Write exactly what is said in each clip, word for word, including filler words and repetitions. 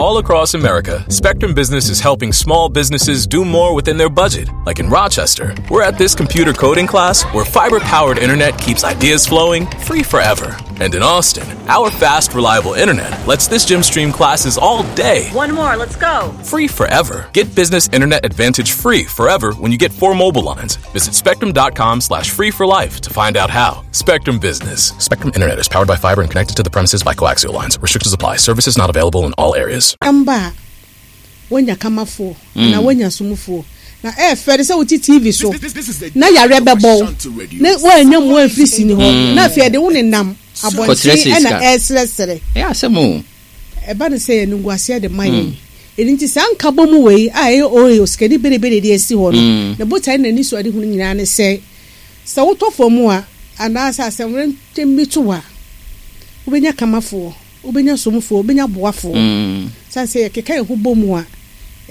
All across America, Spectrum Business is helping small businesses do more within their budget. Like in Rochester, we're at this computer coding class where fiber powered internet keeps ideas flowing free forever. And in Austin, our fast, reliable internet lets this gym stream classes all day. One more, let's go. Free forever. Get business internet advantage free forever when you get four mobile lines. Visit spectrum.com slash free for life to find out how. Spectrum Business. Spectrum Internet is powered by fiber and connected to the premises by coaxial lines. Restrictions apply. Services not available in all areas. Mba a woanya kamafoɔ anaa woanya somfoɔ na ɛyɛ fɛ de sɛ wote T V so na yareɛ bɛbɔ wo na woannya mmoa amfiri sini hɔ na afei ɛde wo nenam abɔnten ɛna ɛresrɛsrɛ. Ɛyɛ asɛm o. Ɛba no sɛ yɛn animguaseɛ de ma yɛn. Ɛno nti saa nkabom wei a ɛyɛ O A osikani berebere de asi hɔ no, ne botae ne n'anisoadehunu nyinaa ne sɛ, sɛ wotɔ fam a anaasɛ asɛmwerɛntɛm bi to wo a, wobɛnya kamafoɔ. Wobɛnya somfoɔ, wobɛnya boafoɔ. Sane sɛ yɛkeka yɛn ho bɔ mu a,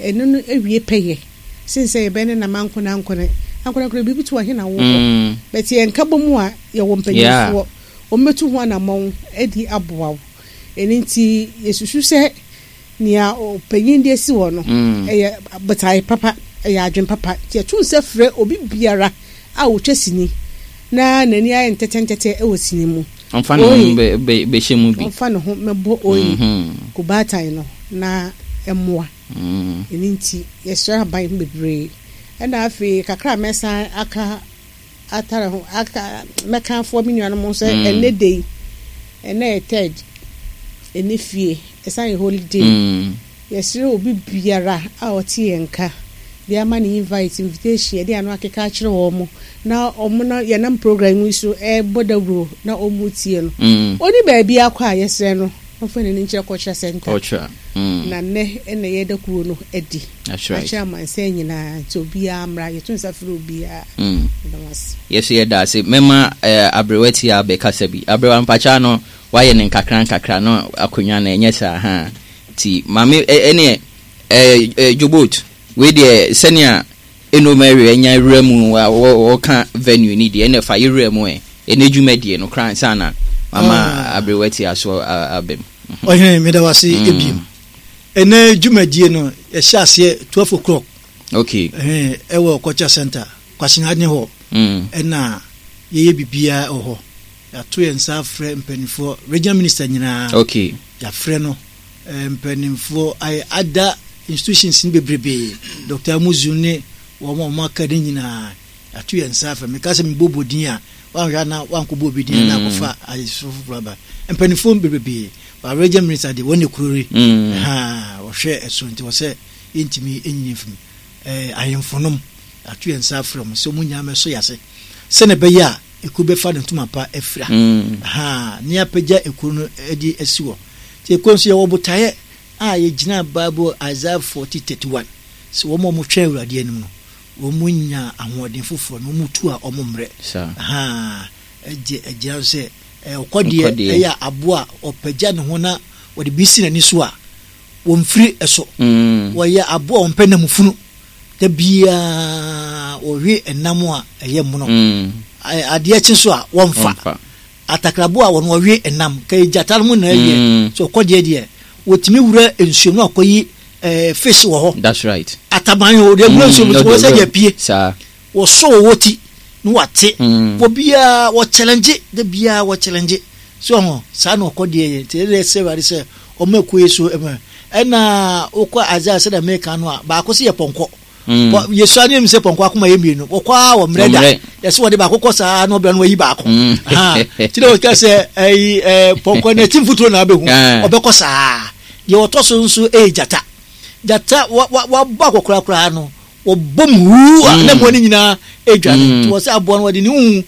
ɛno no awie pɛyɛ sen sɛ yɛbɛyɛ ne nam ankonankone. Ankonankone biribi to a, he na wokɔ? But yɛn nkabɔ mu a, yɛwɔ mpanyinfoɔ. Wɔbɛtu ho anammɔn adi aboa wo. Ɛno nti yɛsusu sɛ nea ɔpanyin de asi hɔ no, ɛyɛ botae papa, ɛyɛ adwene papa. Nti yɛto nsa frɛ obi biara a ɔtwa sini na n'ani ayɛ ntɛtɛntɛtɛ wɔ sini mu. Ɔmfa ne ho bɛhyɛ mu bi. Ɔmfa ne ho mmɛbɔ oyi kubaatan no na ɛmmoa. Ɛno nti yɛsrɛ aban bebree. Ɛna afei kakra a mɛsan aka atare ho aka mɛka afoa me nuanom ho sɛ ɛnnɛ da yi, ɛnnɛ yɛ third, ɛnnɛ fie, ɛsan yɛ holiday. Yɛsrɛ obi biara a ɔte yɛn nka de ama ne invite, invitation, yɛde ano akeka akyerɛ wɔn na wɔn na yɛnam program yi so ɛrebɔ dawuro na wɔn tie no. Ɔni baabi akɔ a, yɛsrɛ no ɔmfa n'ani nkyerɛ Culture Center. Culture. Mm. Na nnɛ ɛna yɛda kuro no adi. That's right. Akyerɛ amansan nyinaa nti obiara mmra, yɛto nsa frɛ obiara. Mm. Yɛda mo ase. Yɛso yɛda ase. Mɛma eh, aberewa ti a bɛkasa bi. Aberewa mpakya no wayɛ ne nkakra nkakra no akonnwa no ɛnyɛ saa ha. Nti maame ɛneɛ eh, eh, Jobot wei deɛ sɛnea Eno Mary anya wura mu wɔka venue ni deɛ ɛna fa yɛwura mu ɛ ɛnɛ dwumadie no koraa nsa na mama Ah. aberewa ti aso abam. Ɔhene, meda wase ebiem. Ɛnɛ dwumadie no yɛhyɛ aseɛ twelve o'clock okay ɛhɛn, ɛwɔ Culture Center Kwasenade hɔ. mm. Ɛna yɛyɛ biribiara wɔ hɔ. Yɛato yɛn nsa afrɛ mpanimfoɔ, regional minister nyinaa. Okay yɛafrɛ no, eh, mpanimfoɔ ayɛ ada institutions no bebrebee, Doctor Amuzu ne wɔn a wɔn aka ne nyinaa yɛato yɛn nsa afrɛ. Meka sɛ mebɔbɔ din a wanhwɛ na wankɔbɔ obi din na Mm. akɔfa ayesoro foforɔ aba. Mpanimfoɔ bebrebee ba, regional minister de wɔn ne kurori mm. ha wɔhwɛ ɛso nti wɔ sɛ yɛntumi ɛnyini mfim. eh, ahemfo nom yɛato yɛn nsa afrɛ mo sɛ ɔmo nyinaa mɛso yɛ ase sɛne ɛbɛyɛ a ekuo bɛfa ne ntoma pa afira Mm. ha ne apagya ekuo no de asi hɔ. Nti ekuo nso yɛwɔ botaeɛ a yɛgyina Bible Isaiah forty thirty one sɛ wɔn a wɔtwɛn Awurade anim no, wɔn mu nya ahoɔden foforɔ na wɔn tu a wɔn mmerɛ. Saa. Ha ɛgye ɛgyina so sɛ ɛ ɔkɔdeɛ Ɔkɔdeɛ. ɛyɛ aboa a ɔpagya ne ho na wɔde bi si n'ani so a wɔmfiri ɛso. Mm. Wɔyɛ aboa a wɔmpɛ nam funu da biara, wɔwe ɛnam a ɛyɛ mono. Mm. Ɛ- adeɛ kye so a wɔmfa. Ɔmfa. Atakrabo a wɔn wɔwe ɛnam ka gyata no mu na ɛyɛ Mm. so ɔkɔdeɛ deɛ wɔtumi wura nsuo mu akɔyi ɛɛ fish wɔ hɔ. That's right. Ataban o de wura nsuo mu Mm, wɔn sɛ deɛ pie saa wɔsɔ wɔwɔ ti na wate. Mm. Wɔ biara wɔ challenge de biara wɔ challenge so ɔho saa na ɔkɔdeɛ yɛ. Nti ɛdɛ sɛ Awurade sɛ ɔmo akuo yi so ɛmɛ ɛna wokɔ Isaiah sɛdeɛ meka no a baako sɛ yɛ pɔnkɔ. Mm. Bɔ- yɛsua ne nim sɛ pɔnkɔ akoma yɛ mmienu, wɔkɔ a wɔ mmerɛ da. Ɔmmerɛ. Yɛsɛ wɔde baako kɔ saa na ɔbrɛ no wayi baako. Mm. Ha, nti na wɔka sɛ ɛyi ɛɛ pɔnkɔ no ɛti mfuturo na abɛhu. Ah. Ɔbɛkɔ saa. Deɛ ɔtɔ so nso ɛyɛ gyata. Gyata wa wa wabɔ akɔkora koraa no wɔbɔ mu huu a Mm. na mmoa no nyinaa ɛdwane. Mm. Nti wɔ sɛ aboa no wɔde ne hu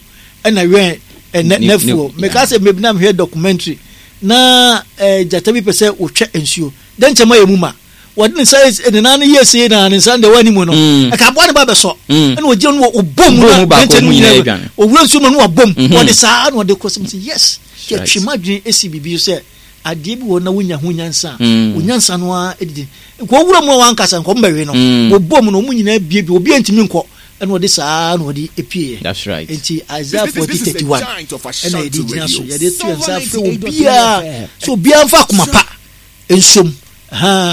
ɛna wɛn ɛnɛ Ne- n'afuo. ne- Meka sɛ mebi na mehwɛ documentary na ɛɛ gyata bi pɛ sɛ wɔtwa nsuo dɛ nkyɛn ayɛ mu ma wɔde ne nsa yɛ- ne nan no yɛ sie na ne nsa no deɛ wɔ anim no Mm. ɛka aboa no ba bɛsɔ Mm. ɛna ɔgyina no wɔ ɔbɔ mu Ɔbɔ na mu baako, nkyɛn no mu nyinaa nyinaa adwane. owura nsuo mu no wabɔ mu. Mhm. Wɔde saa na ɔde kɔ sɛ sɛ yes, Right. yɛtwe mu adwene esi biribi so sɛ adeɛ bi wɔ na wonya ho nyansa a Mm. wo nyansa no ara didi nka owura mu a wankasa nka ɔmbɛwe no. Mm. Wɔbɔ mu no ɔmu nyinaa bie bi obi ntumi nkɔ ɛna ɔde saa na ɔde epie. That's right. Nti Isaiah This, forty this is thirty the one giant of ɛna Ashanti yɛde gyina so. Radio. Yɛde to yɛn nsa Silver afrɛ ninety-eight point three obiara F M. sɛ obiara mfa akoma pa nsom ha.